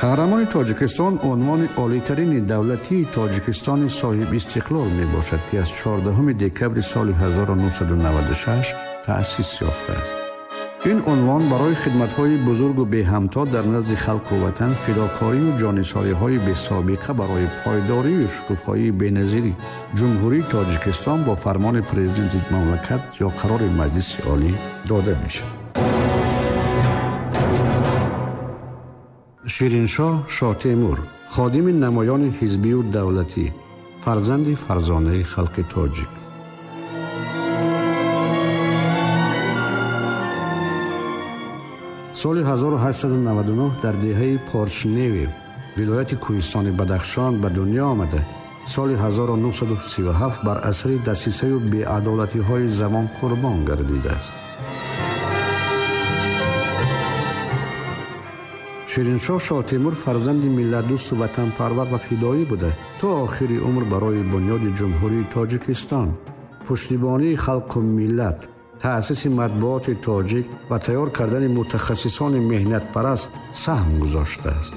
Қаҳрамони Тоҷикистон унвони олитарини давлатии Тоҷикистони соҳибистиқлол мебошад, ки аз 14 декабри соли 1996 таъсис ёфтааст. Ин унвон барои хидматҳои бузургу беҳамто дар назди халқу ватан, фидокорию ҷонисориҳои бесобиқа барои пойдорию шукуфоии беназири Ҷумҳурии Тоҷикистон бо фармони президенти мамлакат ё қарори Маҷлиси Олӣ дода мешавад. Шириншоҳ Шоҳтемур, ходими намоёни ҳизбию давлатӣ, фарзанди фарзонаи халқи тоҷик. Соли 1899 дар деҳаи Поршневи, вилояти Кӯҳистони Бадахшон ба дунё омада, соли 1937 бар асари дасисаю беадолатиҳои замон қурбон гардидааст. Шириншоҳ Шоҳтемур фарзанди миллатдӯсту ватанпарвар ва фидоӣ буда, то охири умр барои бунёди Ҷумҳурии Тоҷикистон, пуштибонии халқу миллат, таъсиси матбуоти тоҷик ва тайёр кардани мутахассисони меҳнатпараст саҳм гузоштааст.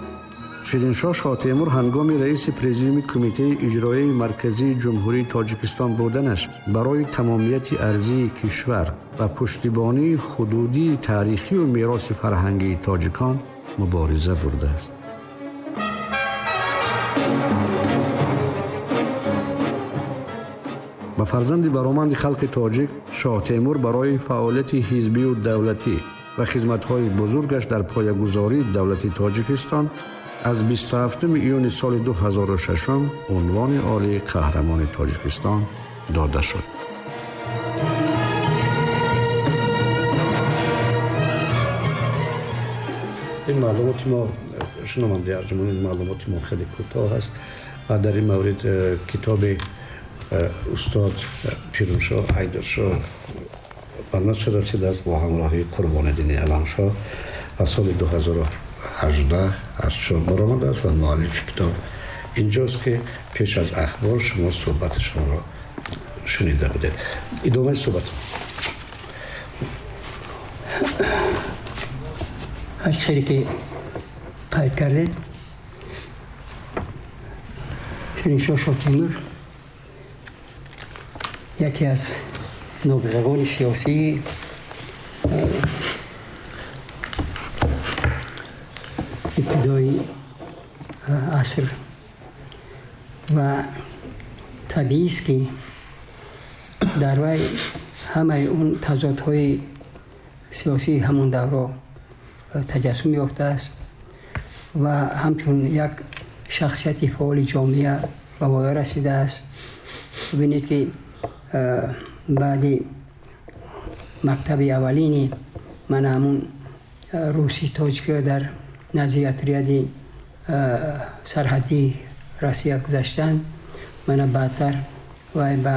Шириншоҳ Шоҳтемур ҳангоми раиси президиуми Кумитаи иҷроияи марказии Ҷумҳурии Тоҷикистон буданаш барои тамомияти арзии кишвар ва пуштибонии ҳудудии таърихию мероси фарҳангии тоҷикон мубориза бурдааст. Ба фарзанди бароманди халқи тоҷик Шоҳтемур барои фаъолияти ҳизбию давлатӣ ва хизматҳои бузургаш дар поягузории давлати Тоҷикистон аз 27 июни соли 2006 унвони олии Қаҳрамони Тоҷикистон дода шуд. Ин маълумоти мо, шунавандаи арҷуманд, ин маълумоти мо хеле кӯтоҳ аст ва дар ин маврид китоби устод Пирумшоҳ Ҳайдаршоҳ ба нашр расидааст бо ҳамроҳии Қурбониддини Аламшоҳ ва соли 2018 аз чоп баромадааст ва муаллифи китоб инҷост, ки пеш аз ахбор шумо суҳбати шуморо шунида будед. Идомаи суҳбат. Аз чизе ки қайд кардед, Шириншоҳ Шоҳтемур яке аз нобиғагони сиёсии ибтидои аср ва табиист, ки дар вай ҳамаи он тазодҳои сиёсии ҳамон давро таҷассум ёфтааст ва ҳамчун як шахсияти фаъоли ҷомеа ба воя расидааст. Бибинед, ки баъди мактаби аввалини мана ҳамун русӣ тоҷикиро дар назди отряди сарҳадии Россия гузаштан, мана баъдтар вай ба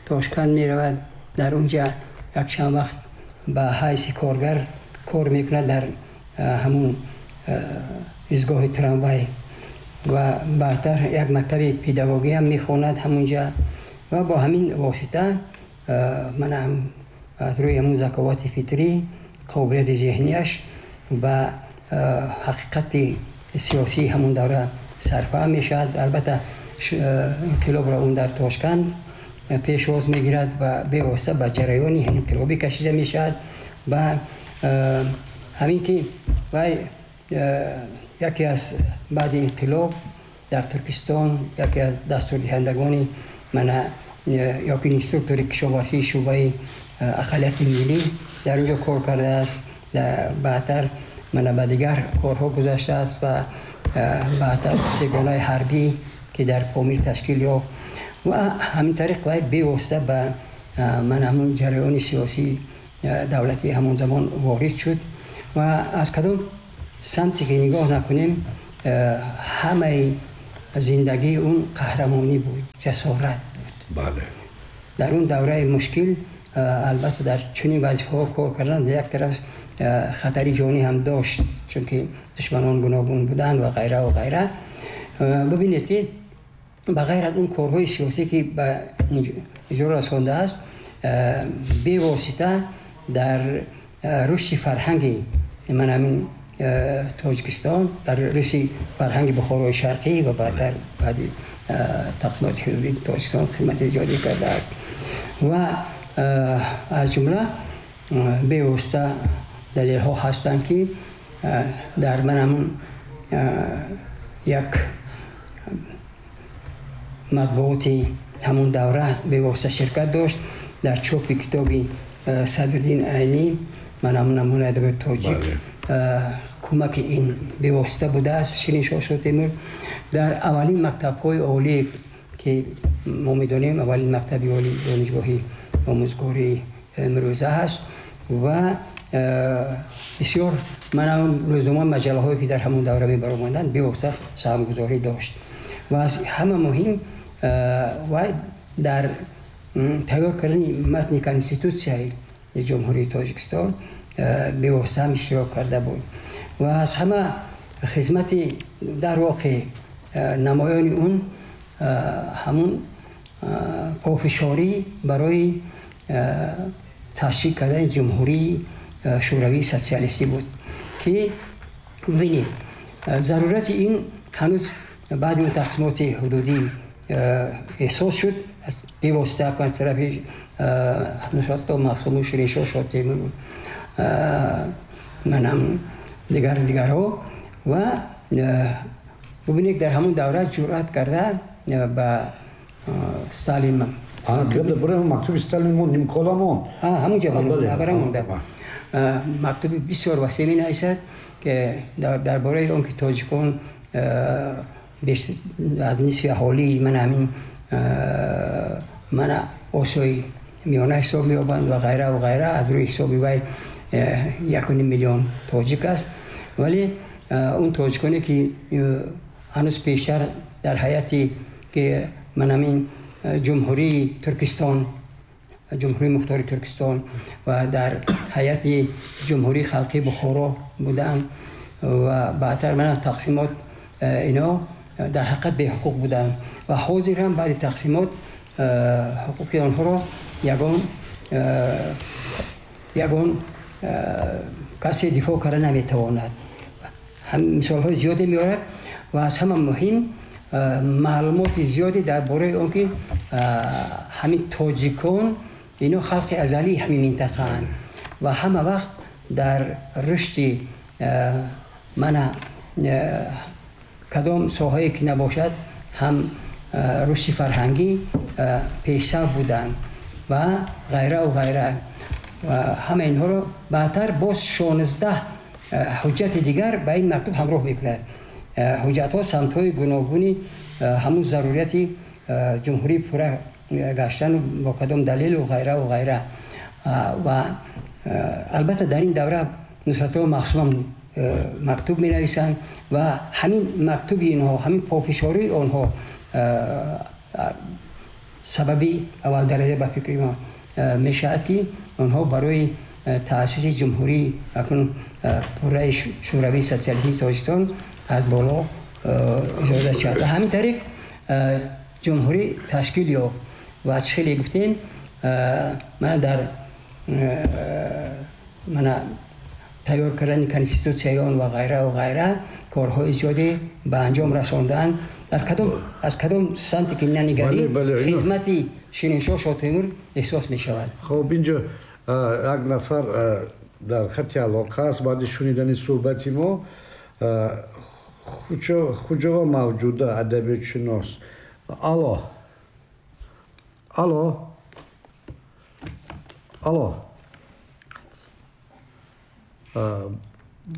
Тошканд меравад, дар унҷа якчанд вақт ба ҳайси коргар кор мекунад дар ҳамун изгоҳи трамвай ва баъдтар як мактаби педагогӣ ҳам мехонад ҳамунҷа ва бо ҳамин восита мана аз рӯи ҳамун заковати фитрӣ, қобилияти зеҳнияш ба ҳақиқати сиёсии ҳамун давра сарфаҳм мешавад. Албатта, инқилобро он дар Тошканд пешвоз мегирад ва бевосита ба ҷараёни инқилобӣ кашида мешавад ва ҳамин ки вай яке аз баъди инқилоб дар Туркистон яке аз дастурдиҳандагони мана ёки инструктори кишоварзии шӯъбаи ақаллияти миллӣ дар онҷо кор кардааст. Баъдтар мана ба дигар корҳо гузаштааст ва баъдтар сегонаи ҳарбӣ, ки дар Помир ташкил ёфт, ва ҳамин тариқ вай бевосита ба мана ҳамун ҷараёни сиёсии давлатии ҳамон замон ворид шуд ва аз кадом самте ки нигоҳ накунем, ҳамаи зиндагии он қаҳрамонӣ буд, ҷасорат буд. Бале. Дар он давраи мушкил, албатта, дар чунин вазифаҳо кор кардан як тараф хатари ҷонӣ ҳам дошт, чунки душманон гуногун буданд ва ғайра ва ғайра. Бибинед, ки ба ғайр аз он корҳои сиёсӣ, ки ба иҷро расондааст, бевосита дар рушди фарҳанги ман ҳамин Тоҷикистон, дар рушди фарҳанги Бухорои Шарқӣ ва баъдтар баъди тақсимоти ҳудудии Тоҷикистон хидмати зиёде кардааст. Ва аз ҷумла бевосита далелҳо ҳастанд, ки дар ман ҳамун як матбуоти ҳамун давра бевосита ширкат дошт дар чопи китоби Садриддин Айнӣ, ман ҳамун намунаи адабиёти тоҷик, кӯмаки ин бевосита будааст. Шириншоҳ Шотемур дар аввалин мактабҳои олие, ки мо медонем, аввалин мактаби олии донишгоҳи омӯзгории имрӯза ҳаст ва бисёр ман рӯзнома, маҷаллаҳое, ки дар ҳамон давра мебаромаданд, бевосита саҳмгузорӣ дошт. Ва аз ҳама муҳим, вай дар тайёр кардани матни Конститутсияи Ҷумҳурии Тоҷикистон бевосита ҳам иштирок карда буд. Ва аз ҳама хизмати дар воқеъ намоёни он ҳамун пофишорӣ барои ташкил кардани Ҷумҳурии Шӯравии Социалистӣ буд, ки бибинед, зарурати ин ҳанӯз баъди он тақсимоти ҳудудӣ эҳсос шуд, бевосита аз тарафи Нусратулло Махсуму, Шириншоҳ Шотемур, манам дигар дигарҳо. Ва бубинед, дар ҳамон давра ҷуръат карда ба Сталин Мактуби Сталин мон, нимкола мон. Ҳамунҷо монда. Мактуби бисёр васеъ менависад, ки дар бораи он ки тоҷикон аз нисфи аҳолии ман ҳамин мана Осиёи Миёна ҳисоб меёбанд ва ғайра ва ғайра. Аз рӯи ҳисоби вай 1,5 миллион тоҷик аст, вале он тоҷиконе, ки ҳанӯз пештар дар ҳайати ки ман ҳамин Ҷумҳурии Туркистон, Ҷумҳурии Мухтори Туркистон ва дар ҳайати Ҷумҳурии Халқии Бухоро буданд ва баъдтар мана тақсимот, ино дар ҳақиқат беҳуқуқ буданд ва ҳозир ҳам баъди тақсимот ҳуқуқи онҳоро ягон касе дифоъ карда наметавонад. Мисолҳои зиёде меорад ва аз ҳама муҳим, маълумоти зиёде дар бораи он ки ҳамин тоҷикон ино халқи азалии ҳамин минтақаанд ва ҳама вақт дар рушди мана кадом соҳае ки набошад ҳам рушди фарҳангӣ пешсаф буданд ва ғайраву ғайра. Ва ҳама инҳоро баъдтар боз 16 ҳуҷҷати дигар ба ин мактуб ҳамроҳ мекунад. Ҳуҷҷатҳо самтҳои гуногуни ҳамун зарурияти ҷумҳурӣ пурра гаштану бо кадом далелу ғайраву ғайра. Ва албатта дар ин давра Нусратулло Махсумам мактуб менависанд ва ҳамин мактуби инҳо, ҳамин пофишории онҳо сабаби аввалдараҷа ба фикри мо мешавад, ки онҳо барои таъсиси ҷумҳурии акнун пурраи Шӯравии Социалистии Тоҷикистон аз боло иҷозат шавад. Ба ҳамин тариқ ҷумҳурӣ ташкил ёфт ва чӣ хеле гуфтем, мана дар мана тайёр кардани конститутсияи он ва ғайраву ғайра корҳои зиёде ба анҷом расондаанд. Дар кадом аз кадом самте ки нанигарӣ, хизмати Шириншоҳ Шотемур эҳсос мешавад. Хуб, инҷо як нафар дар хати алоқа аст. Баъди шунидани суҳбати мо, Хуҷова Мавҷуда, адабиётшинос. Алло, алло, алло,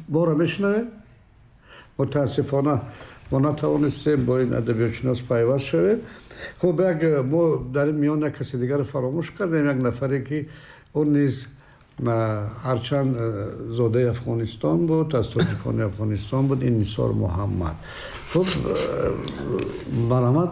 моро мешунавед? Мутаассифона, мо натавонистем бо ин адабиётшинос пайваст шавем. Хуб, як мо дар ин миён як каси дигарро фаромӯш кардем, як нафаре, ки ӯ низ ҳарчанд зодаи Афғонистон буд, аз тоҷикони Афғонистон буд, ин Нисор Муҳаммад. Хуб, марҳамат.